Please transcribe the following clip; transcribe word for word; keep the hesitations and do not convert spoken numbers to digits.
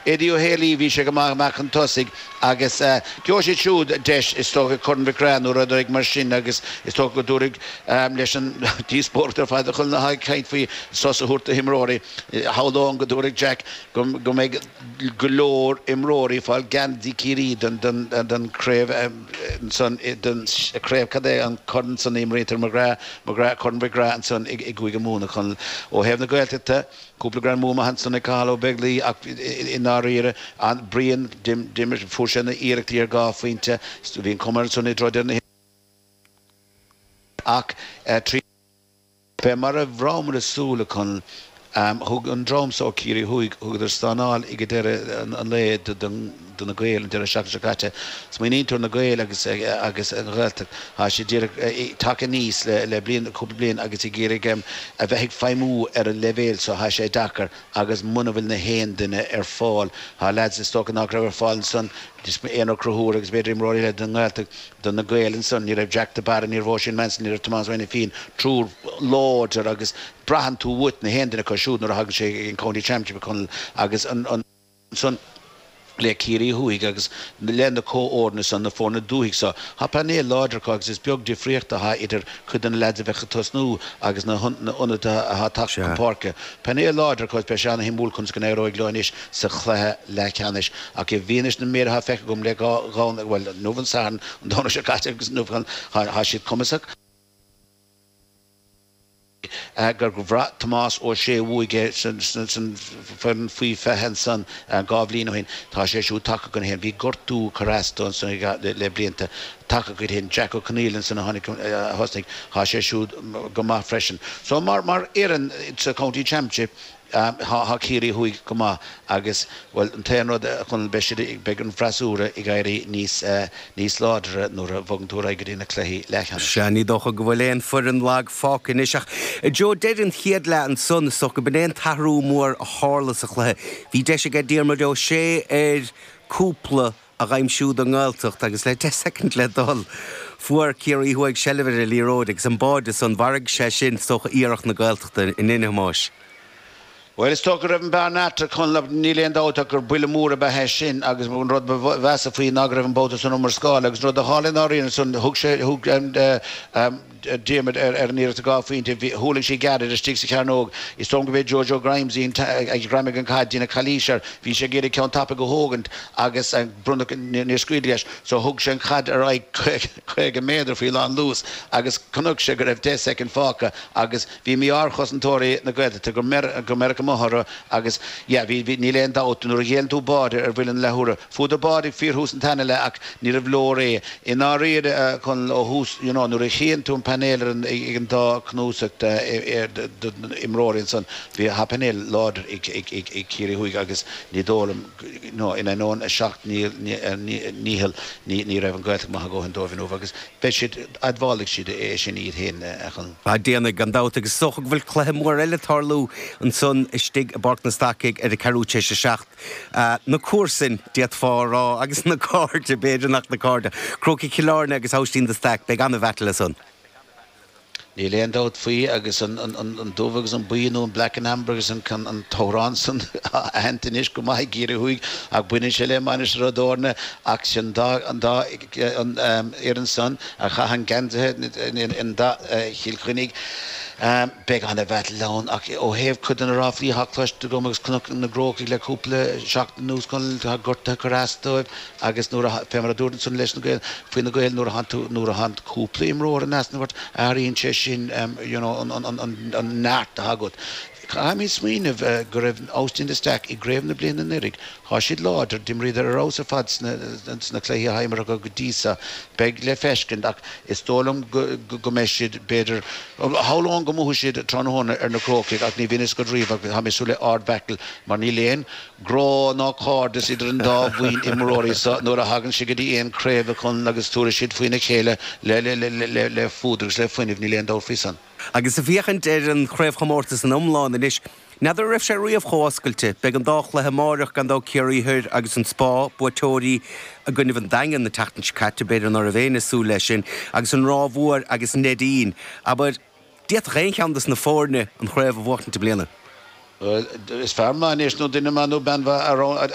Eddie Ó Héalaí, bhí sé go maith amach chun tosaigh agus gheobhaidh siad siúd deis is dócha Corn Mhic Craith nó rud éigin mar sin agus is dócha go dtabharfaidh leis an díospóireacht ar fad a chuala ag caint faoi sos a thabhairt do himreoirí. Shamhlóinn go dtabharfaidh Jack go mbeidh go leor imreoirí ag fáil geansaí Ciarraí don don craobh ansan don craobh cad é an corn san a imrítear McGrath McGrath Corn Mhic Craith ansan i gCúige Mumhan a Chonaill ó thaobh na Gaeltachta. Cúpla greamú maith ansan ag Cathal Ó Beaglaoich ach i ndáiríre an Brian d'imir fuair sé na iarrachtaí ar dhá phointe bhí an cuma ansan i dtreo deireadh na ach trí Fé mar a bhraithmid ag súil a Chonaill thug an dream so ó Ciarraí Thuaidh thugadar stánáil ag deireadh an lae do na Gaeil an deireadh seachtaine seo caite. Smaoiníonn tú ar na Gaeil agus agus an Ghaeltacht tá siad díreach tagtha aníos le le bliain cúpla bliain agus ag iarraidh a bheith ag feidhmiú ar an leibhéal so tá sé deacair agus muna bhfuil na haon duine ar fáil tá lads is dócha nach raibh ar fáil ansan Éanna Ó Conchúir agus b'fhéidir imreoirí eile den nGaeltacht do na Gaeil ansan ní raibh Jack de Barra ní raibh Oisín Manson ní raibh Tomás Ó Ainifín triúr láidir agus braitheann tú uait na haon duine acu siúd nuair a thagann sé ag an County Championship Chonaill agus an ansan le Ciarraí Thuaidh agus le na comhfhoirne san na foirne dúthaigh so tá painéal láidir acu agus is beag difríocht atá idir cuid de na lads a bheadh ag tosnú agus na hionadaithe atá tagtha chun páirce. Painéal láidir acu beidh sé an-shuimiúil conas go n-éireoidh leo anois sa chluiche leathcheannais ach i bhfianaise na méid atá feicthe agam le dhá dhá bhuel inniu an Satharn an Domhnach seo caite agus inniu tá siad cumasach. Gur bhraith Tomás Ó Sé uaidh é san foireann faoi fiche ansan dhá bhliain ó shin. Tá sé siúd tagtha chun féin. Bhí gortú curtha as dó ansan le blianta. Tagtha chuige féin. Jack Ó Conaola ansan a tháinig a thosnaigh. Tá sé siúd go maith freisin. So mar mar fhoireann sa County Championship tá Ciarraí Thuaidh go maith agus bhuel an t-aon rud a Chonaill beidh siad beidh an freasúra ag éirí níos níos láidre nuair a bhogann tú ar aghaidh go dtí na cluichí leathcheannais. Sea, ní dócha go bhfuil aon foireann lag fágtha anois ach Joe deireadh an chéad leath ansan is dócha go b'in é an t-athrú mór a tharla sa chluiche. Bhí deis aige Diarmuid Ó Sé ar cúpla a dh'aimsiú don nGaeltacht agus le deich soicind le dul fuair Ciarraí Thuaidh seilbh ar an liathróid agus an báide san mharaigh sé sin is dócha iarracht na Gaeltachta in a Thomáis. Bhuel is dócha go raibh an bearna eatarthu Conall níl aon dabht ach gur buille mór ab ea é sin agus an rud ba mheasa faoi ná go raibh an babhta san iomrascáil agus an rud a tharla i ndáiríre ansan thug sé thug Diarmuid ar an iarracht dhá phointe bhí thuirling sí gairid istigh sa chearnóg is dóigh liom go b'é Jojo Grimes a ghreamaigh an chaid déanadh calaois air bhí sé ag iarraidh ceann tapaidh a thógaint agus bronnadh níor scaoileadh leis so thug sé an chaid ar aghaidh caoga méadar faoi lán luas agus chonaic sé go raibh deich soicind fágtha agus bhí mí-ádh ar chosantóirí na Gaeltachta go mbeirfeadh amuigh orthu agus yeah bhí bhí níl aon dabht nuair a ghéilleann tú báide ar bhuille na leathuaire fuaireadar báide ag fíorthús an tarna leath ach ní raibh leor é i ndáiríre a Chonaill ó thús you know nuair a chíonn tú an painéal ar an ag an dá chnuasach d'imreoirí ansan bhí tá painéal láidir ag ag ag ag Ciarraí Thuaidh agus ní dóigh liom you know in ainneoin a seacht ndícheall ní ní raibh an Ghaeltacht maith a dhóthain dóibh inniu agus beidh siad admhálfaidh siad é sin iad féin a Chonaill. Ah déanfaidh, gan dabht, agus is dócha go bhfuil cluiche mór eile ag tarlú ansan istigh i bPáirc na Stacaigh ar a ceathrú tar éis a seacht. Na comharsain, d'fhéadfá a rá, agus na cairde, b'fhéidir nach na cairde. Crócaigh Chill Airne agus Aibhistín de Staic, beidh an-bhattle ansan. Níl aon dabht faoi agus an an dubh agus an buí nó an black and amber agus an an t-amhrán san aitheanta anois go maith i gCiarraí Thuaidh ach baineann sé le Mainistir Ó dTorna ach sin dá an dá an fhoireann san a chaith an geansaithe in dath Chill Chainnigh. Beidh an-bhattle ann ach ó thaobh cuid de na ráflaí atá cloiste agam agus chonac na gCrócaigh le cúpla seachtain anuas Conall tá gortuithe curtha as dóibh agus nuair a fé mar a dúirt ansan leis na Gaeil faoi na Gaeil nuair a thánn tú nuair a thánn cúpla imreoir in easnamh ort athraíonn sé sin you know an an an an neart atá agat. Caithfimid smaoineamh go raibh Aibhistín de Staic i gcraobh na bliana anuraidh. Tá siad láidir, d'imríodar ar fheabhas ar fad sna sna cluichí atá imeartha acu go dtí seo. Beidh le feiscint ach is dóigh liom go go mbeidh siad b'fhéidir shamhlóinn go mbuafaidh siad tráthnóna ar na Crócaigh ach ní bhíonn a fhios agat riamh ach tá mé ag súil le ard-battle mar níl aon grá ná cairdeas idir an dá bhuíon imreoirí seo nuair a thagann sé go dtí aon craobh a Chonaill agus tabharfaidh siad faoina chéile le le le le le fuadar agus le fuinneamh, níl aon dabht faoi san. Agus ag féachaint ar an chraobhchomórtas in iomlán anois, n'fheadar an raibh sé riamh chomh oscailte. Beidh an dá chluiche amáireach gan dabht Ciarraí Thoir agus an Spá, buaiteoirí i gcoinnibh an Daingean na tseachtain seo caite, b'fhéidir ná raibh éinne ag súil leis sin, agus an Ráth Mhór agus Neidín. Abair, d'fhéadfadh aon cheann dos na foirne an chraobh a bhuachtaint i mbliana. Is fear maith anois nó duine maith nó bean.